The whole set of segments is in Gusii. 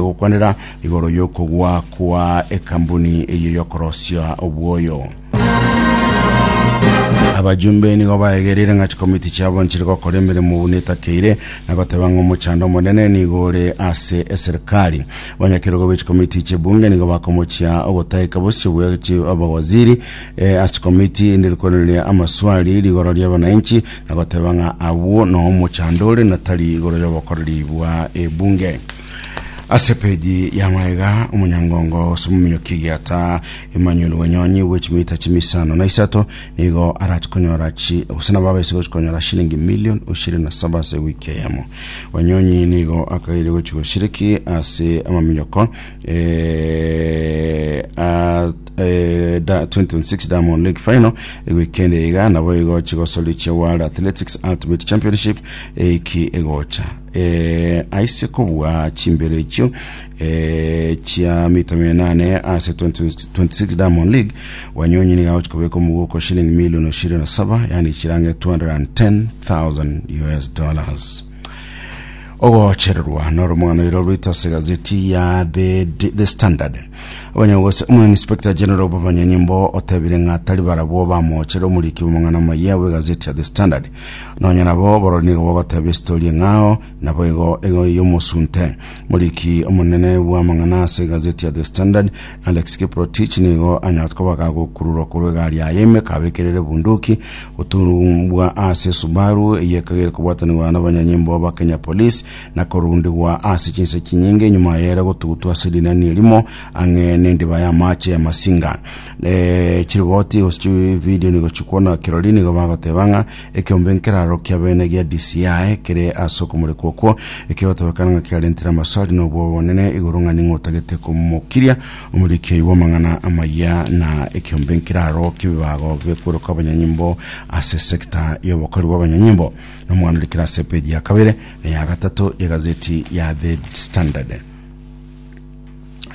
Gokwanera igoro y'okogwa kwa ekambuni eyio y'okorosia obwoyo. Abajumbe nigo baegereire ng'a chikomiti chiabo nchiri gokora emeremo buna etakeire na goteba ng'a omochando omonene nigo ore ase eserikali. Abanyakerogo be chikomiti chi'ebunge nigo bakomochia ogotaika bosio bwe chi abawaziri eh, ase chikomiti inde rikoreria amaswali rigoro ri'abananchi na goteba ng'a abwo noo omochando ore na tari igoro y'obokoreri bwa ebunge. Ase epeji ya magega omonyangongo gose omominyoki egiata Emmanuel Wanyonyi bwe chimita chimisano na isato nigo arache konyora chi gose nabo abaise gochi konyora shilingi million ishirini na saba ase ewiki eyemo. Wanyonyi nigo akageire gochi goshiriki ase amaminyoko eh, a eh, da, 2026 Diamond League Final ewikendi eye iga nabo igo chigosori chia World Athletics Ultimate Championship eiki egocha. eh, aise kobua chimbero echio eh, chia mita mia nane ase 2026 Diamond League Wanyonyi nigo agochi kobeka omogoko shilingi milioni ishirini na saba yani chirange 210,000 US dollars ogochererwa noro omwana oiro rwito ase gazeti ya the, the standard Abanyagose omoinspector general bw'abanyanyimbo otebire ng'a tari barabwo bamochere omoriki bw'amang'ana amayia bw'egazeti ya The Standard. Nonya nabo borori nigo bogoteba esitori eng'ao naboigo ego y'omosunte. Moriki omonene bw'amang'ana ase egazeti ya The Standard Alex Kiprotich nigo anyarete koba gagokururwa korwa egari yaye ime kabekerere ebunduki goturumbwa ase Subaru eyio ekagere kobwatanigwa n'abanyanyimbo ba Kenya Police na korundigwa ase chinse chinyinge nyuma y'ere gotugutwa ase rinani erimo ang'e nendiba y'amache y'amasinga. Eh, chiriboti gose chividio nigo chikwana kirori nigo bagoteba ng'a ekeombe nkeraro kia bene gia DCI kere ase okomorekwa okwo ekegotebekana ng'a kiarentire amaswali na obwoba bonene igoro ng'a ning'o otagete komokiria omoriki oyio bw'amang'ana amayia na ekeombe nkeraro ki'ebibago bikweroka abanyanyimbo ase sector y'obokori bw'abanyanyimbo. Nomwana orikire ase epeji ya kabere na ya gatato y'egazeti ya The Standard.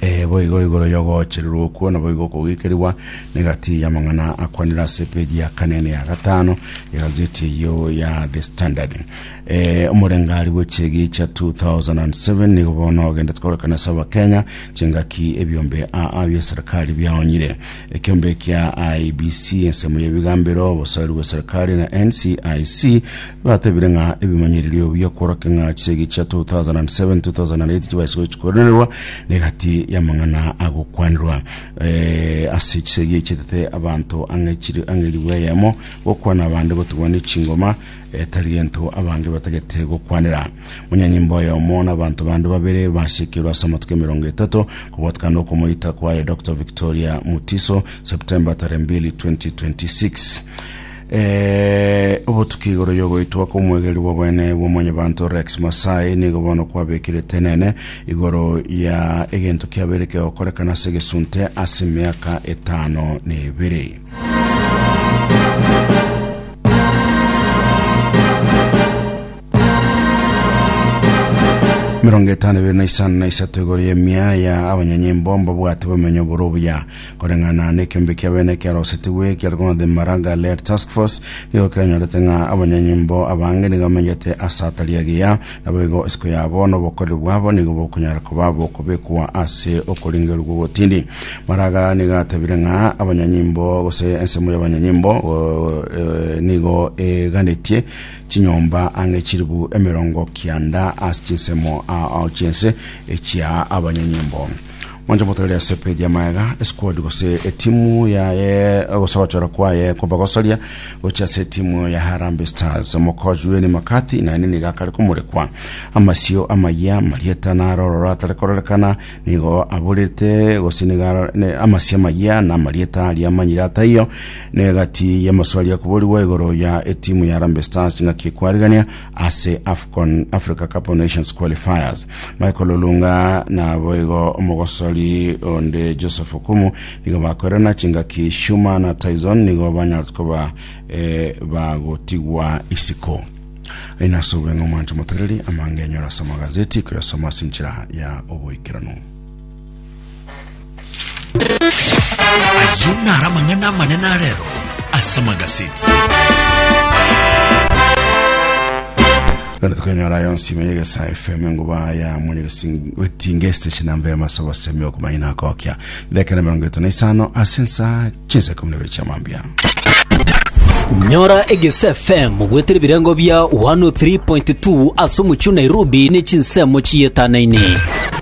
Eh, boigo igoro y'ogochererwa okwo naboigo okogikerigwa negati y'amang'ana akwanire ase epeji ya kane na ya gatano egazeti eyio ya The Standard. Eh, omorengari bw'echegi chia 2007 nigo bono ogendete kororekana ase abakenya chingaki ebiombe aa bia serikali biaonyire Ekeombe kia IEBC, ensemo y'ebigambero, obosoeri bwe serikali na NCIC batebire ng'a ebimanyererio bi'okworokia ng'a chisegi chia 2007-2008 chibaise gochikoranerwa negati y'amang'ana agokwanerwa. Eh, ase chisegi echietete abanto ang'e chiri ang'e elifu eyemo gokwana abande gotigwa ne chingoma etari gento abange batagete gokwanera. Monyanyimbo oyomo na abanto bande babere basekirwe ase amatuko emerongo etato kobwatekana nokomoita kwaye Dr. Victoria Mutiso September tarehe mbili 2026. Eh, obotuki igoro yogoitwa kw'omwegeri bw'obwene bw'omonyabanto Rex Masai nigo bono kwabekire tenene igoro ya egento kiabeire kegokorekana ase egesunte ase emiaka etano na ebere. Emerongo etano ebere na isano na isato igoro y'emia ya abanyanyimbo mbabwate bomenyo bore obuya koreng'ana nekeombe kia bene kiarosetigwe kiarokwa The Maraga Led Task Force nigo kianyorete ng'a abanyanyimbo abange nigo bamenyete ase atari agiya naboigo isiko yabo na obokoreri bwabo nigo bokonyara koba bokobekwa ase okoringerwa gw'ogotindi Maraga nigo atebire ng'a abanyanyimbo gose ensemo y'abanyanyimbo eh, nigo eganetie chinyomba ang'e chilifu emerongo kianda ase chinsemo ao chi'ense echia abanyanyimbo. Mwanche motorere ase epeji ya maega esquad gose etimu yaye gose ogochora kwaye kobagosoria gochia ase etimu ya Harambee Stars. Omokochi Benni McCarthy naende nigo akare komorekwa amasio amayia marieta naro ororo atare kororekana Nigo aborete gose nigo ara- ne- amasio amayia na amarieta aria amanyire ataiyo negati y'amaswali akoborigwa igoro ya etimu ya Harambee Stars ng'aki ekwarigania ase AFCON Africa Cup of Nations qualifiers. Michael Olunga naboigo omogosori onde Joseph Okumu nigo bakoirana chingaki Shuma na Tyson nigo banyarete koba eh, bagotigwa isiko. Aye nase obweng'e omwanche omotegereri amange enyore ase amagazeti koyasoma ase enchera ya oboikeranu. Ayio naro amang'ana amanene a rero ase amagaseti. Rende tokonyora yonsi ime y'Egesaa FM enguba ya Mwanyagetinge station namba ya masobo semi okomanya na kokia. Dakika na 55 ase ensa chinsa 12 chia mambia. Nyora Egesa FM goetera ebirengo bia 103.2 ase omochie o Nairobi ne chinsemo chietanaine.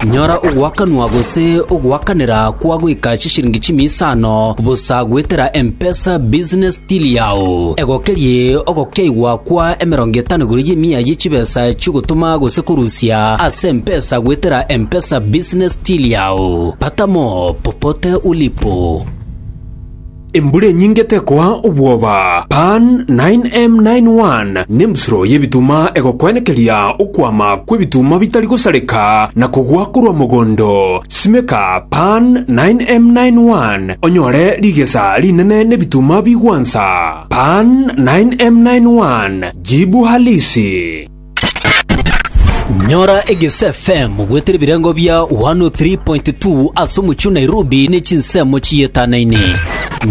Nyora ogoakanwa gose ogoakanera kwa goika chishiringi chimia isano bosa goetera M-Pesa Business Till yao. Egokerie ogokeigwa kwa emerongo etano igoro y'emia ye chibesa chi'ogotoma gose korusia ase M-Pesa goetera M-Pesa Business Till yao. Pata mo popote ulipo. Embura enyinge tekoa obwoba. Pan 9M91 nembusuro y'ebituma egokwenekeria okwama kw'ebituma bitari gosareka na kogwa korwa mogondo. Simeka Pan 9M91 onyore rigesa rinene n'ebituma bigwansa. Pan 9M91 jibu halisi. Nyora Egesa FM goetera ebirengo bia 103.2 ase omochie o Nairobi ne chinsemo chietanaine.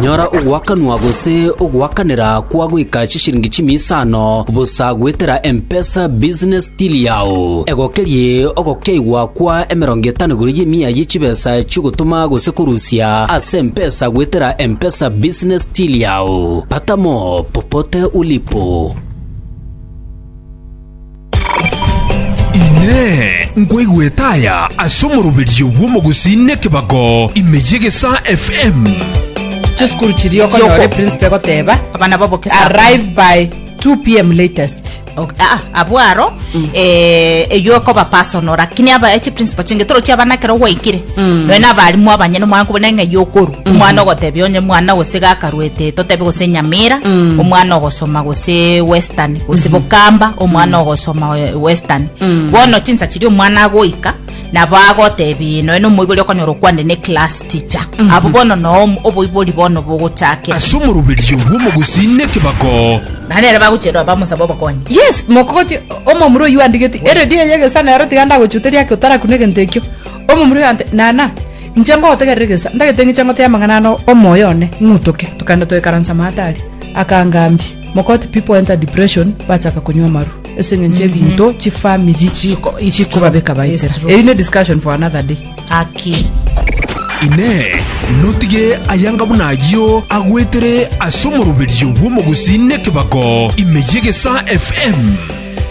Nyora ogoakanwa gose ogoakanera kwa goika chishiringi chimia isano bosa goetera M-Pesa Business Till yao. Egokerie ogokeigwa kwa emerongo etano igoro y'emia ye chibesa chi'ogotoma gose korusia ase M-Pesa goetera M-Pesa Business Till yao. Pata mo popote ulipo. Inee! Nkwaigwete aya ase omoroberio bw'omogusii nekebago ime y'Egesaa FM? Chisukuru chiria okonyora eprinciple egoteba Abana baboke saa arrive by 2 pm latest. Ok, ah, ah, abwo aro eh, eywo ekoba personal lakini aba echi principal chinge torochi abana ekero gwaikire nonya na abarimu abanyene omwana nkobona ng'a eywo okorwa omwana ogotebia onye mwana gose gakarwete totebe gose nyamira omwana ogosoma gose western gose bokamba omwana ogosoma eh, western bono chinsa chiria omwana agoika nabo agotebi nonya na omoibori okonyora okwane ne class teacher abwo bono noo oboibori bono bogochakera Ase omoroberio bw'omogusii nekebago Naende ere bagochierwa bamosaba obokonyi. Yes, mokogoti omomura oyio andigeti eredio eye egesa nero tiga ndagochuteria ake otarakuna egento ekio. Omomura oyo ante nana inche ngogotegerera egesa ndagete ng'iche ngotebie amang'ana ano omoyo one ng'utoke tokagenda togaikaransa maate aria. Akangambia, mokoti people enter depression bachaka konywa amarwa ase eng'encho ebinto chifamiri Chiko- it's chikobabeka true, it's baetera. true. Eyio ne discussion for another day. Aki. Inee! Notige ayanga buna ayio agwetere ase omoroberio bw'omogusii nekebago ime y'Egesaa FM?